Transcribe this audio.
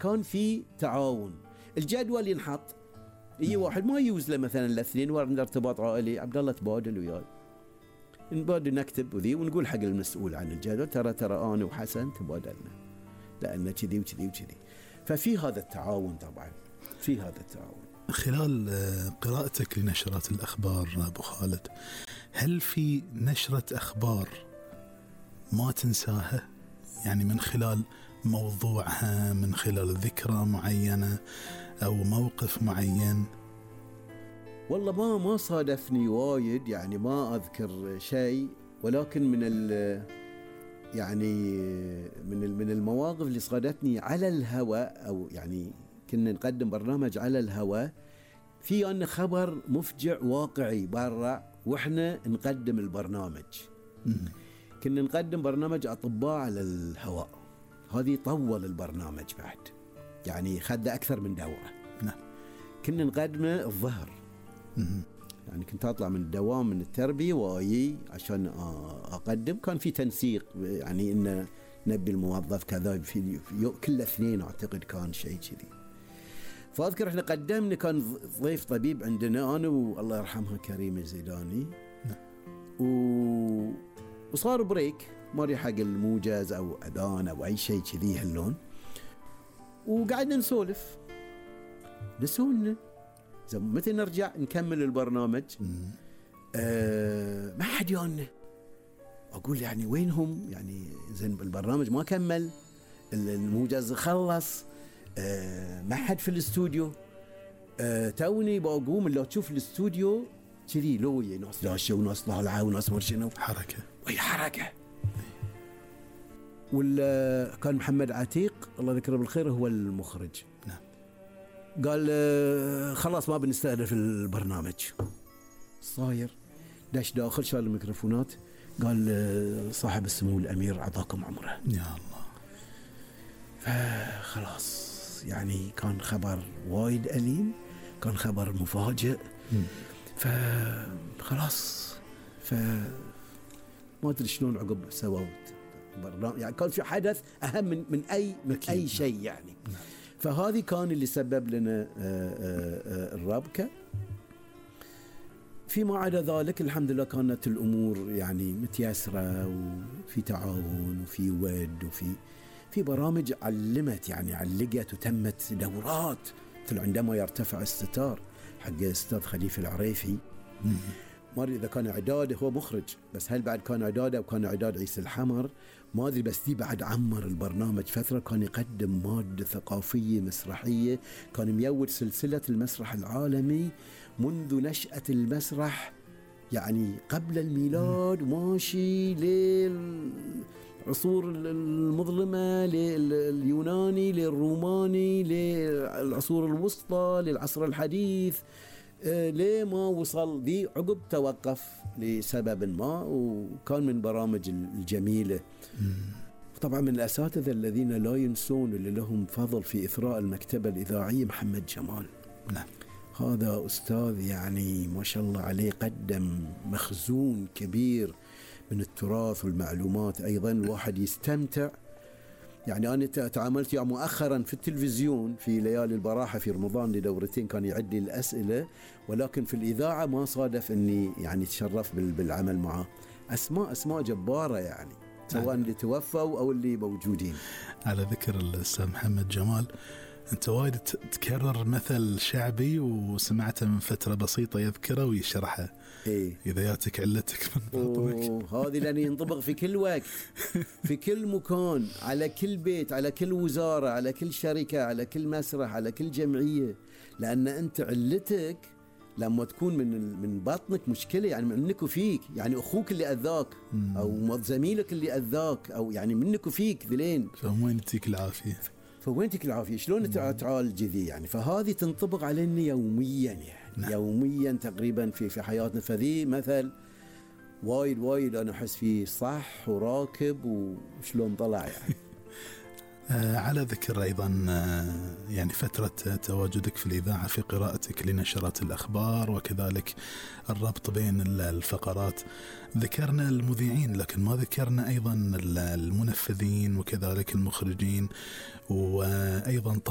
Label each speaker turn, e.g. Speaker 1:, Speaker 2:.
Speaker 1: كان في تعاون. الجدول ينحط، يجي واحد ما يوز له مثلا الاثنين ورا ارتباط عائلي، عبد الله تبادل وياي، نبادل نكتب وذي ونقول حق المسؤول عن الجدول ترى انا وحسن تبادلنا لان كذي وكذي وكذي. ففي هذا التعاون، طبعا في هذا التعاون.
Speaker 2: خلال قراءتك لنشرات الأخبار أبو خالد، هل في نشرة أخبار ما تنساها؟ يعني من خلال موضوعها، من خلال ذكرى معينة أو موقف معين؟
Speaker 1: والله ما صادفني وايد، يعني ما أذكر شيء، ولكن يعني من المواقف اللي صادتني على الهواء، أو يعني كنا نقدم برنامج على الهواء، في أن خبر مفجع واقعي برا وإحنا نقدم البرنامج. كنا نقدم برنامج أطباء على الهواء، هذه طول البرنامج بعد، يعني خد أكثر من دورة.
Speaker 2: نعم.
Speaker 1: كنا نقدمه الظهر، يعني كنت أطلع من الدوام من التربية وآيي عشان أقدم. كان في تنسيق، يعني إن نبي الموظف كذا في كل اثنين أعتقد كان شيء كذي. فأذكر إحنا قدمنا، كان ضيف طبيب عندنا أنا والله يرحمها كريمة زيداني، وصار بريك ماري حق الموجز أو أذان أو أي شيء كذي هاللون، وقعدنا نسولف نسولنا متى نرجع نكمل البرنامج. ما حد يانا، أقول يعني وينهم، يعني زين البرنامج ما كمل، الموجز خلص، ما حد في الاستوديو. توني بقوم، لو تشوف الاستوديو كذي لوي، ناس داشة وناس طالعة وناس مرشنة،
Speaker 2: حركة
Speaker 1: وي حركة. ولا كان محمد عتيق الله يذكره بالخير هو المخرج.
Speaker 2: نعم.
Speaker 1: قال خلاص ما بنستأنف البرنامج. صاير داش داخل شال الميكروفونات، قال صاحب السمو الأمير عطاكم عمره.
Speaker 2: يا الله.
Speaker 1: فخلاص يعني كان خبر وايد أليم، كان خبر مفاجئ. فخلاص ما أدري شلون عقب سووا برنامج، يعني كان في حدث أهم من أي شيء يعني. فهذه كان اللي سبب لنا الربكة. فيما عدا ذلك الحمد لله كانت الأمور يعني متيسرة، وفي تعاون وفي ود، وفي برامج علمت، يعني علقت وتمت دورات. مثل عندما يرتفع الستار حق أستاذ خليفة العريفي، ما أدري إذا كان إعداده هو مخرج، بس هل بعد كان إعداده أو كان إعداد عيسى الحمر ما أدري، بس دي بعد عمر البرنامج فترة. كان يقدم مادة ثقافية مسرحية، كان ميود سلسلة المسرح العالمي منذ نشأة المسرح، يعني قبل الميلاد ماشي للعصور المظلمة، لليوناني، للروماني، للعصور الوسطى، للعصر الحديث، ليه ما وصل دي عقب توقف لسبب ما. وكان من برامج الجميلة. طبعا من الأساتذة الذين لا ينسون اللي لهم فضل في إثراء المكتبة الإذاعية محمد جمال.
Speaker 2: نعم.
Speaker 1: هذا أستاذ يعني ما شاء الله عليه، قدم مخزون كبير من التراث والمعلومات. أيضا الواحد يستمتع، يعني أنا تعاملت مؤخرا في التلفزيون في ليالي البراحة في رمضان لدورتين، كان يعد لي الأسئلة، ولكن في الإذاعة ما صادف أني يعني تشرف بالعمل معه. أسماء جبارة يعني، سواء اللي توفوا أو اللي موجودين.
Speaker 2: على ذكر الأستاذ محمد جمال، أنت وايد تكرر مثل شعبي وسمعته من فترة بسيطة يذكره ويشرحه.
Speaker 1: إيه؟
Speaker 2: إذا ياتك علتك من باطنك.
Speaker 1: هذه لأن ينطبق في كل وقت، في كل مكان، على كل بيت، على كل وزارة، على كل شركة، على كل مسرح، على كل جمعية. لأن أنت علتك لما تكون من بطنك مشكلة، يعني منك وفيك، يعني أخوك اللي أذاك أو زميلك اللي أذاك، أو يعني منك وفيك ذلين،
Speaker 2: فوين تيك العافية؟
Speaker 1: فوين تيك العافية؟ شلون تعالج ذي يعني؟ فهذه تنطبق علينا يوميا يعني.
Speaker 2: نعم.
Speaker 1: يوميا تقريبا في حياتنا. فذي مثل وايد أنا أحس فيه صح وراكب وشلون طلع يعني.
Speaker 2: على ذكر أيضا يعني فترة تواجدك في الإذاعة في قراءتك لنشرات الأخبار وكذلك الربط بين الفقرات، ذكرنا المذيعين لكن ما ذكرنا أيضا المنفذين وكذلك المخرجين، وأيضا